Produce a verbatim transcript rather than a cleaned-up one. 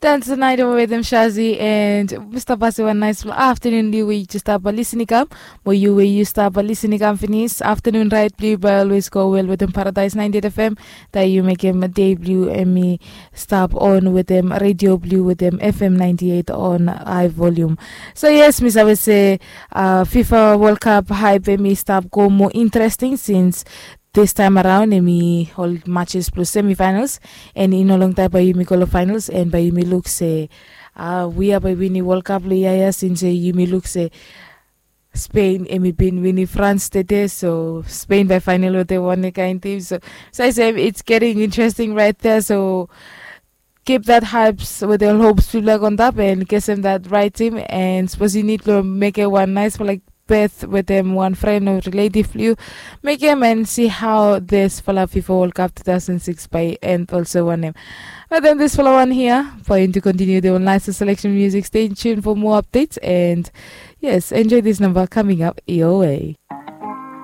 That's the night over with them Shazi and Mr. Basi. One nice afternoon, you we just stop by listening come. Mo you we you stop by listening come finish. Afternoon right blue by always go well with them Paradise ninety-eight F M. That you make him a day blue and me stop on with them Radio Blue with them F M ninety-eight on high volume. So yes, Miss, I would say uh, FIFA World Cup hype and me stop go more interesting since this time around, emi ol matches plus semifinals, and in a long time by yumi go lo finals, and by yumi look say, uh, we are by winning World Cup lo yaya since uh, yumi look say Spain emi bin winning France today, so Spain by final with the one kind team. So, so I say it's getting interesting right there. So keep that hypes with the hopes people are on top and get them that right team, and suppose you need to make it one nice for like birth with them one friend or relative you make him and see how this fala FIFA World Cup two thousand six by end also won him. But then this fala one here for him to continue the nice selection music. Stay tuned for more updates and yes, enjoy this number coming up your way.